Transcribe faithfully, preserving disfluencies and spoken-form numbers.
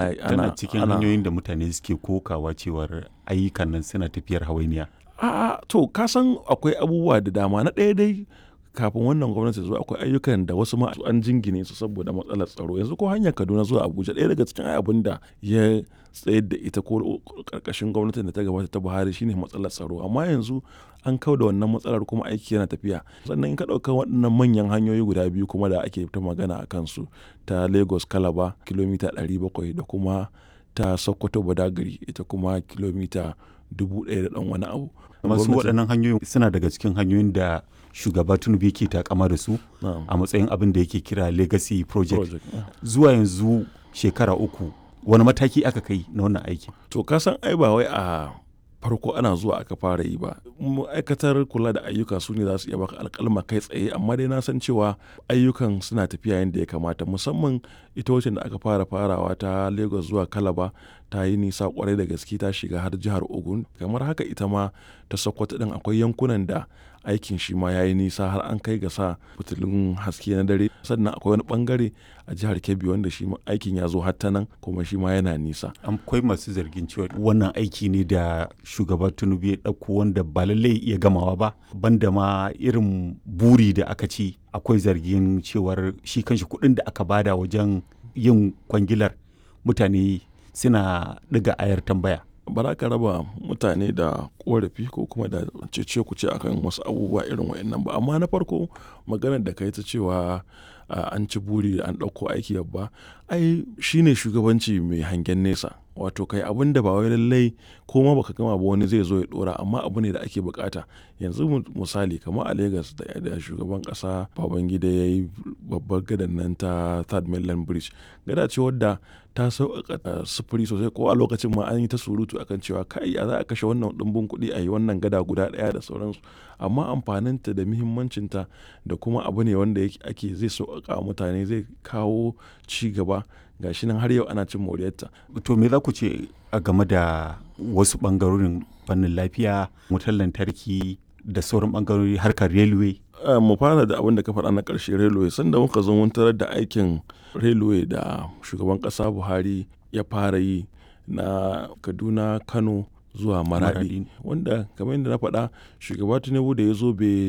Tana cikin hanyoyin da mutane suke kokawa cewar ayyukan nan suna tafiyar hawainiya. A'a, to ka san akwai abubuwa da dama. Na ɗaya dai, kafin wannan gwamnati ta zo akwai ayyukan da wasu ma an jingine su saboda matsalar tsaro. Yanzu ko hanyar Kaduna zuwa Abuja, ɗaya daga cikin abun da ya tsayar da ita ko ƙarƙashin gwamnatin da ta gabata ta Buhari shine matsalar tsaro. Amma yanzu an kau da wannan matsalar kuma aiki yana tafiya. Sannan in ka ɗauka waɗannan manyan hanyoyi guda biyu kuma da ake ta magana a kansu, ta Lagos Calabar kilomita ɗari bakwai da kuma ta Sokoto Badagry, ita kuma kilomita dubu ɗaya da ɗan wani abu. Masu waɗannan hanyoyin suna daga cikin hanyoyin da shugaba Tinubu yake takama da su a matsayin abin da yake kira legacy project. Zuwa yanzu shekara uku, wani mataki aka kai na wannan aikin? To ka san ai ba wai a farko ana zuwa aka fara yi ba. Ma'aikatar kula da ayyuka su ne za su iya baka alƙalma kai tsaye, amma dai na san cewa ayyukan suna tafiya yadda ya kamata. Musamman ita wacce da aka fara farawa ta Lagos zuwa Calabar ta yi nisa ƙwarai da gaske, ta shiga har jihar Ogun. Kamar haka ita ma ta Sokoto ɗin akwai yankunan da aikin shi ma ya yi nisa har an kai ga sa fitilun haske na dare. Sannan akwai wani ɓangare a jihar Kebbi wanda shi ma aikin ya zo har ta nan kuma shi ma yana nisa. Akwai masu zargin cewa wannan aiki ne da shugaba Tinubu ya ɗauko wanda ba lallai ya iya gamawa ba, banda ma irin buri da aka ci. Akwai zargin cewar shi kanshi kuɗin da aka bada wajen yin kwangilar, mutane suna ɗiga ayar tambaya. Ba za ka raba mutane da ƙorafi ko kuma da cece-kuce akan wasu abubuwa irin waɗannan ba. Amma na farko, maganar da ka yi ta cewa an ci buri an ɗauko aiki babba, ai shine shugabanci mai hangen nesa. Wato kai abun da ba wai lallai ko ma baka gama ba wani zai zo ya ɗora, amma abu ne da ake bukata. Yanzu misali kamar a Lagos da shugaban ƙasa Babangida ya yi babbar gadan nan ta Third Mainland Bridge. Gada ce wadda ta sauƙaƙa sufuri sosai, ko a lokacin ma an yi ta surutu akan cewa kai ya za a kashe wannan ɗumbin kuɗi a yi wannan gada guda ɗaya da sauransu. Amma amfaninta da muhimmancinta da kuma abu ne wanda ake zai sauƙaƙa wa mutane, zai kawo ci gaba. Ga shi nan har yau ana cin moriyarta. To me za ku ce a game da wasu ɓangarorin fannin lafiya, wutar lantarki da sauran ɓangarori, harkar railway? Mu fara da abin da ka faɗa na ƙarshe, railway. Sanda muka zo mun tarar da aikin railway da shugaban ƙasa Buhari ya fara yi na Kaduna, Kano zuwa Maradi. Wanda kamar yadda na faɗa, shugaba Tinubu da ya zo bai